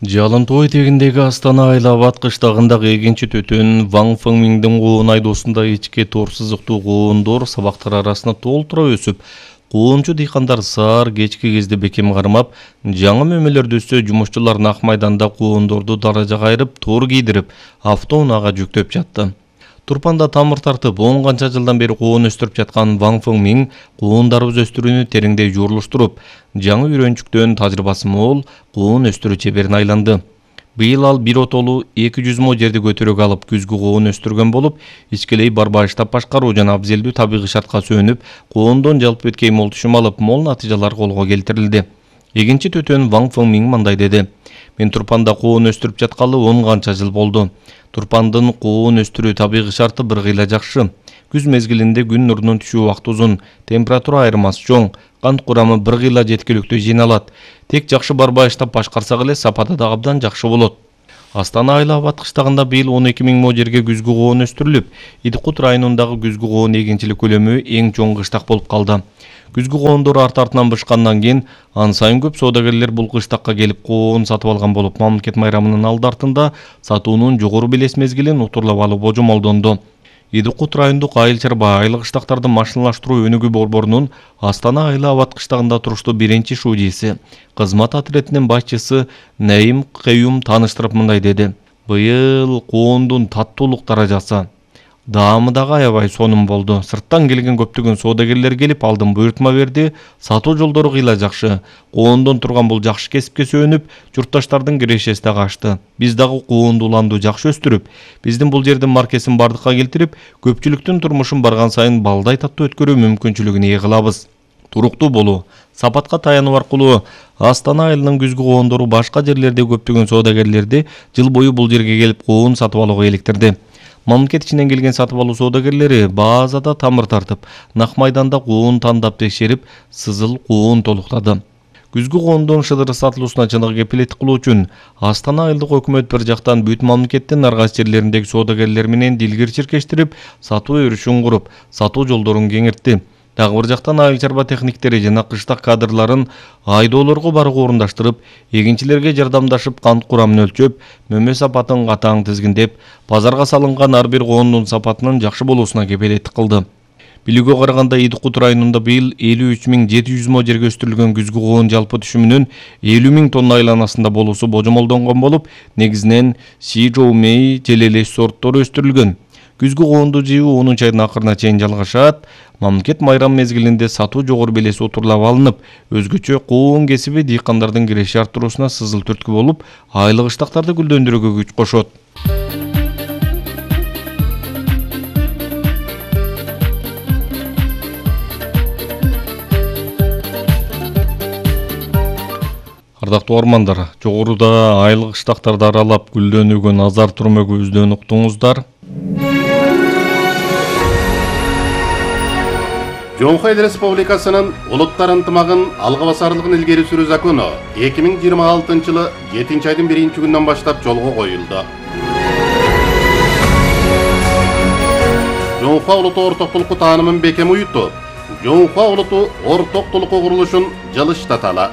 Жалынтоо этегиндеги Астана Айлабад кыштагындагы эгинчи төтөн Ван Фэнгмиңдин куун айдоосунда ички тор сызыктуу куундор сабактар арасына толтура өсүп, куунчу дыйкандар саар кечки кезде бекем кармап, жаңы мөмөлөрдү өссө жумушчулар Ак майданда куундорду даражага айырып, тор кийдирип, автоунаага жүктөп жатты. Турпанда тамыр тартып, 10 канча жылдан бери куун өстүрүп жаткан Ван Фэнгмиң куундарыбыз өстүрүүнү тереңдей жуурулуштуруп, жаңы үйрөнчүктөн тажрыйбасы мол куун өстүрүү чеберине айланды. Быйыл ал бир отолу 200 мо жерди көтөрөк алып күзгү куун өстүргөн болуп, ичкилей барбаштап башкаруу жана абзелдүү табигый шартка сүйөнүп, куундон жалпы өткөй мол түшүм алып, мол натыйжалар колго келтирилди. Эгинчи төтөн Ван Фэнгмиң мындай деди: "Мен Турпанда куун өстүрүп жаткалы 10 канча жыл болду. Турпандын куун өстүрүү табигый шарты бир кыйла жакшы. Күз мезгилинде күн нурунун түшүү убакыты узун, температура айырмасы чоң, кант курамы бир кыйла жеткиликтүү жыйналат. Тек жакшы барбаштап башкарсак эле сапаты да абдан жакшы болот." Астана Айлабад кыштагында быйыл 12.000 мо жерге күзгү куун өстүрүлүп, Идикут районундагы күзгү куун эгинчилик көлөмү эң чоң кыштак болуп калды. Күзгү куундор арт-артынан бышкандан кийин ан сайын көп соодагерлер бул кыштакка келип куун сатып алган болуп, мамлекет майрамынын алды артында сатуунун жогору белес мезгилин утурлап алуу божомолдонду. Идикут райондук айыл чарба айыл кыштактарды машиналаштыруу өнүгүү борборунун Астана Айлабад кыштагында туруштуу биринчи шуудиси, кызмат отрядынын башчысы Наим Каюм тааныштырып мындай деди: "Быйыл куундун таттуулук даражасы даамы дагы аябай сонун болду. Сырттан келген көптөгөн соодагерлер келип алдын буйртма берди. Сатуу жолдору кыйла жакшы. Куундон турган бул жакшы кесипке сүйөнүп, журтташтардын кирешеси дагы ачты. Биз дагы куунду уланду жакшы өстүрүп, биздин бул жердин маркесин бардыкка келтирип, көпчүлүктүн турмушун барган сайын балдай таттуу өткөрүү мүмкүнчүлүгүн ээ кылабыз. Туруктуу болуу, сапатка таянуу аркылуу Астана айылынын күзгү куундору башка жерлерде көптөгөн соодагерлерди жыл бою бул жерге келип куун сатып алууга иликтирди. Мамлекет ичинен келген сатып алуу соодагерлери баазада тамыр тартып, Ак майданда куун тандап текшерип, сызыл куун толуктады. Күзгү куундун шыдыры сатылуусуна чыныгы кепилеттик кылуу үчүн Астана айылдык өкмөт бир жактан бүт мамлекеттин ар кайсы жерлериндеги соодагерлер менен дилгир чиркештирип, сатуу өрүшүн куруп, сатуу жолдорун кеңиртти. Дагы бир жактан айыл чарба техниктери жана кыштак кадрларын айдоолорго барууга орундаштырып, эгинчилерге жардамдашып, кант курамын өлчөп, мөмө сапатын катаң тизгиндеп, базарга салынган ар бир куундун сапатынын жакшы болуусуна кепилеттик кылды. Билүүгө караганда Идикут районунда быйыл 53.700 мо жерге өстүрүлгөн күзгү куун жалпы түшүмүнүн 50.000 тонна айланасында болуусу божомолдонгон болуп, негизинен Сижоумей желелеш сорттору өстүрүлгөн. Күзгү куунду жыйуу 10 айдын акырына чейин жалгашат. Мамлекет майрам мезгилинде сатуу жогору белеси утурлап алынып, өзгөчө куун кесиби дыйкандардын киреше арттыруусуна сызыл түрткү болуп, айыл кыштактарды гүлдөндүрүүгө күч кошот. Ардактуу армандар, жогоруда айыл кыштактарды аралап гүлдөнүүгө назар турмөгүбүздөн уктуңуздар. Жоңхо Эл Республикасынын улуттар ынтымагын алга басарлыгын илгери сүрүү закону 2026 жылы 7 айдын 1 күнүнөн баштап жолго коюлду. Жоңхо улуттуу ортоктулукку таанымын бекем уютуп, Жоңхо улуттуу ортоктулукку курулушун жылыштаталы.